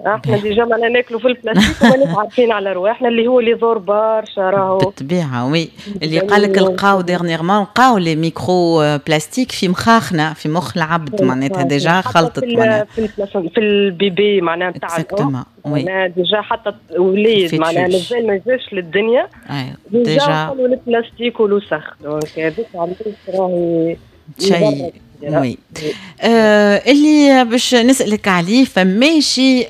احنا déjà معناها ناكلوا في البلاستيك وماناش عارفين على رواحنا اللي هو اللي يضر برشا راهو. بالطبيعه، oui، اللي قال لك لقاو dernièrement، لقاو les microplastiques في مخاخنا، في مخ العبد، معناتها déjà خلطت معناها في ال bébé معناها نتاع exactement، oui. معناها déjà حتى وليد معناها مازال ما جاش للدنيا déjà البلاستيك والوسخ، donc هذيك علاش راهي شيء. oui، اللي باش نسالك عليه، فماشي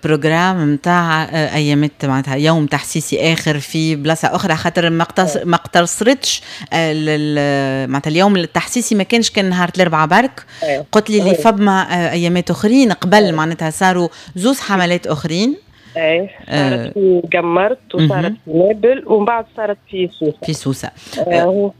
programme نتاع ايامات، معناتها يوم تحسيسي اخر في بلاصة اخرى؟ خاطر ما اقتصرتش معناتها اليوم التحسيسي ما كانش كان نهار الاربعاء برك. قلت لي اللي فما ايامات اخرين قبل، معناتها صاروا زوز حملات اخرين. اي، صارت في قمرت وصارت في نابل ومن بعد صارت في سوسه. في سوسه. آه.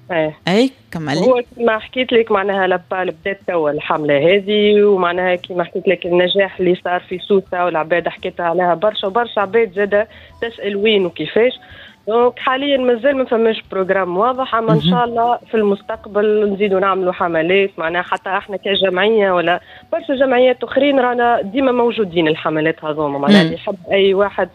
اي، كملي. هو كما حكيت لك معناها l'APAL بدات توا الحملة هذه، ومعناها كما حكيت لك النجاح اللي صار في سوسة والعباد حكيت عليها برشا، وبرشا عباد زاده تسال وين وكيفاش. donc حاليا مازال ما فماش programme واضح، اما ان شاء الله في المستقبل نزيدوا نعملوا حملات، معناها حتى احنا كجمعية ولا برشا جمعيات اخرين رانا ديما موجودين الحملات هذوما. معناها اللي يحب اي واحد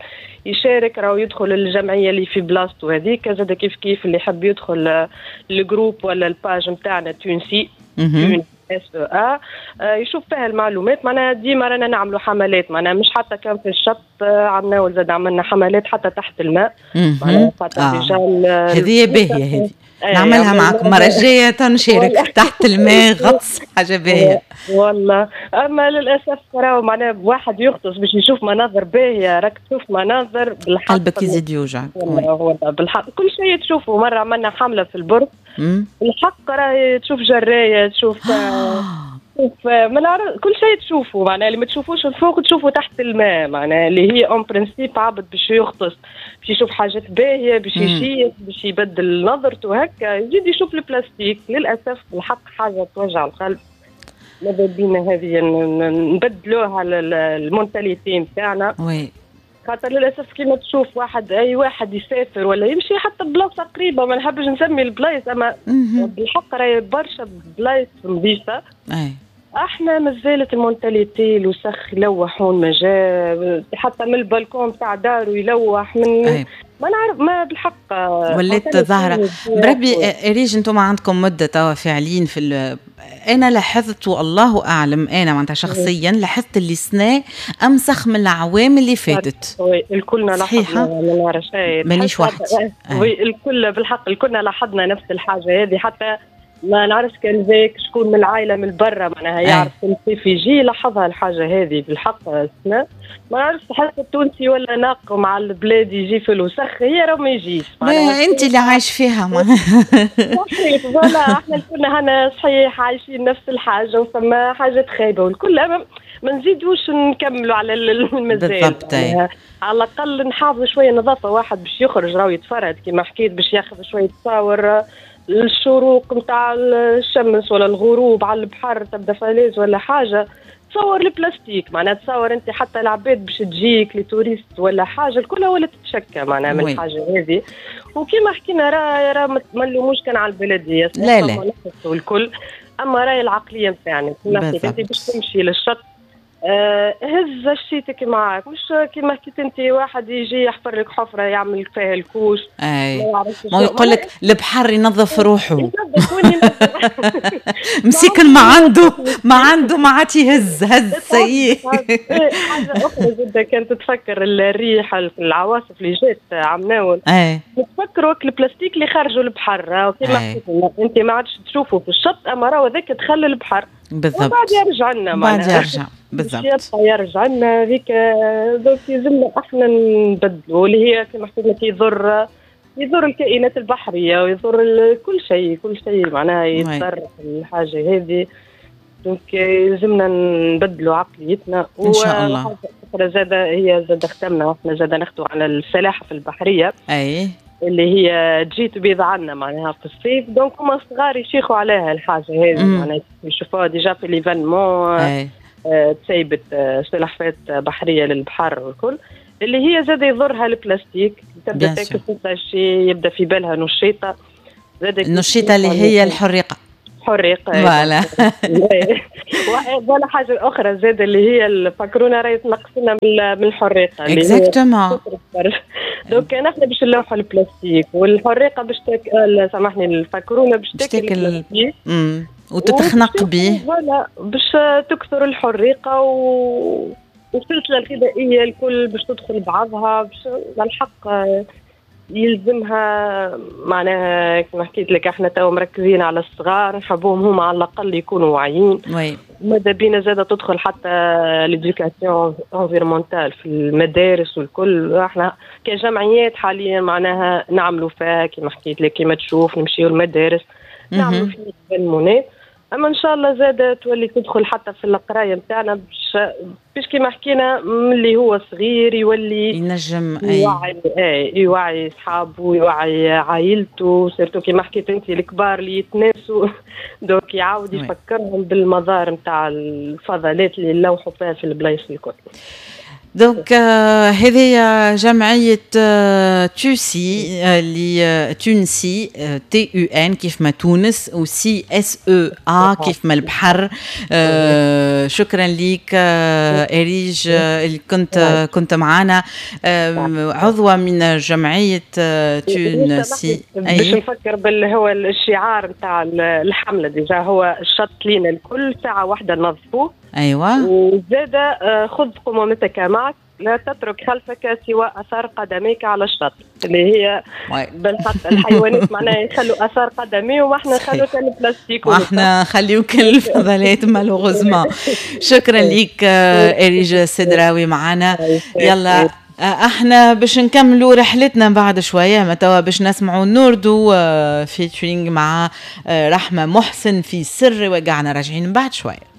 يشارك راهو يدخل الجمعية اللي في بلاصتو هذيك، زاد كيف كيف اللي يحب يدخل ال groupe ولا ال page نتاعنا تونسي اس او ا يشوف فيها المعلومات. معناها ديما رانا نعملوا حملات، معناها مش حتى كان في الشط، عملنا زاد عملنا حملات حتى تحت الماء. معناها هذه باهيه، هذه نعملها معكم المرة الجاية، تنشارك تحت الماء، غطس، حاجة باهية. والله اما للاسف راهو معناها واحد يغطس باش يشوف مناظر باهية، راك تشوف مناظر بالحق قلبك يزيد يوجعك. والله بالحق كل شيء تشوفه. مرة عملنا حملة في البرط، الحق راهي تشوف جراية، تشوف ما نعرف، كل شيء تشوفه، معناها اللي ما تشوفوش الفوق تشوفه تحت الماء. معناها اللي هي en principe عبد باش يغطس باش يشوف حاجات باهيه، باش يشيخ، باش يبدل نظرته، هكا يزيد يشوف البلاستيك. للاسف الحق حاجة توجع القلب. ماذا بينا هذه نبدلوها ال mentalité نتاعنا، خاطر للاسف كيما تشوف واحد، اي واحد يسافر ولا يمشي حتى بلاصة قريبه، ما نحبش نسمي البلايص، اما بالحق راهي برشا بلايص نظيفه. احنا مازالت ال mentalité الوسخ، يلوحون ما جا حتى من البلكون تاع دارو يلوح من ما نعرف، ما بالحق. ولات ظاهره. بربي اريج، انتم عندكم مده توا فاعلين في، انا لاحظت والله اعلم، انا معناتها شخصيا لاحظت اللي سنة امسخ من العوام اللي فاتت. oui، الكلنا لاحظنا، ما نعرفش. مانيش وحدي. oui، الكل بالحق الكلنا لاحظنا نفس الحاجة هذه. حتى ما نعرفش كان ذاك شكون من العائلة من برا معناها يعرف كيف يجي لاحظها الحاجة هذه. بالحق السنة ما نعرفش، حتى التونسي ولا ناقم على البلاد، يجي في الوسخ، هي راه ما يجيش. انت اللي عايش فيها. صحيح، voilà، احنا كلنا هنا صحيح عايشين نفس الحاجه، وفما حاجات خايبة والكل، ما نزيدوش نكملوا على المازال. على الاقل نحافظوا شوية نظافه. واحد باش يخرج راهو يتفرهد كما حكيت، باش ياخذ شوية تصاور الشروق نتاع الشمس ولا الغروب على البحر، تبدا falaise ولا حاجه، تصور البلاستيك. معناها تصور انت حتى العباد باش تجيك les touristes ولا حاجه، الكل ولا تتشكى معناها من الحاجة هذه. وكما حكينا راه ما نلوموش كان على البلديه. لا لا. والكل، اما راهي العقلية نتاعنا. كما حكيت انت باش تمشي للشط هز شيتك معاك، مش كيما حكيت انت واحد يجي يحفر لك حفره يعمل فيها ال couche. اي، ما يقول لك البحر ينظف روحه، مسكن ما عنده ما عاد يهز، هز سيء. حاجة اخرى جدا، كانت تتفكر الريح، العواصف اللي جات عمناول، نتفكروا البلاستيك اللي خرجوا البحر. كيما حكيت انت ما عادش تشوفه في الشط، اما راهو هذاك دخل البحر. وبعد يرجع لنا. بعد يرجع، بالضبط. يبقى يرجع لنا هذيك. donc يلزمنا احنا نبدلوا، اللي هي كما حكيت لك يضر الكائنات البحرية ويضر كل شيء، كل شيء معناها يضر الحاجة هذه. donc يلزمنا نبدلوا عقليتنا. ان شاء الله. زاد هي زاد ختمنا، احنا زاد نخدموا على السلاحف البحريه. اللي هي تجي تبيض عنا معناها في الصيف، donc هما صغار يشيخوا عليها الحاجة هذه، معناها يشوفوها déjà في l'événement تسيبت سلحفات بحرية للبحر والكل، اللي هي زاد يضرها البلاستيك، تبدا تاكل في، يبدا في بالها نشيطه. زاد النشيطه اللي هي الحريقه. حريقه. voilà. ولا حاجة اخرى زاد اللي هي الفكرونه راهي تنقص لنا من الحريقه. exactement. donc نحن باش نلوحوا البلاستيك والحريقه باش تاكل، سامحني، الفكرونه باش تاكل البلاستيك وتتخنق به. voilà، باش تكثر الحريقه والسلسله الغذائية الكل باش تدخل بعضها. باش الحق يلزمها معناها كما حكيت لك، احنا تو مركزين على الصغار، نحبوهم هما على الاقل يكونوا واعيين. ماذا بينا زادة تدخل حتى l'éducation environnementale في المدارس والكل. احنا كجمعيات حاليا معناها نعملوا فيها كما حكيت لك، كما تشوف نمشيو المدارس نعملوا فيه المونات، اما ان شاء الله زاد تولي تدخل حتى في القراية نتاعنا باش كيما حكينا من اللي هو صغير يولي ينجم يوعي، اي يوعي صحابه، يوعي عائلته، surtout كيما حكيت انت الكبار اللي يتناسوا، donc يعاود يفكرهم بالمضار نتاع الفضلات اللي نلوحوا فيها في البلايص الكل. donc هذه جمعية تونسي اللي تونسي، T U N كيف ما تونس و sea S E A كيف ما البحر. شكرا لك اريج اللي كنت معنا، عضوة من جمعية تونسي. باش نفكر بال هو الشعار نتاع الحملة déjà هو الشط لينا الكل، ساعة واحدة نظفوه. وزاد خذ قمامتك معك، لا تترك خلفك سوى اثار قدميك على الشط، اللي هي بالحق الحيوانات معناها يخلوا اثار قدمي واحنا نخلوا كان البلاستيك. واحنا نخليو كان الفضلات malheureusement. شكرا لك اريج السدراوي معنا. يلا احنا باش نكملوا رحلتنا بعد شويه، ما توا باش نسمعوا نوردو featuring مع رحمه محسن في سر وقعنا، راجعين بعد شويه.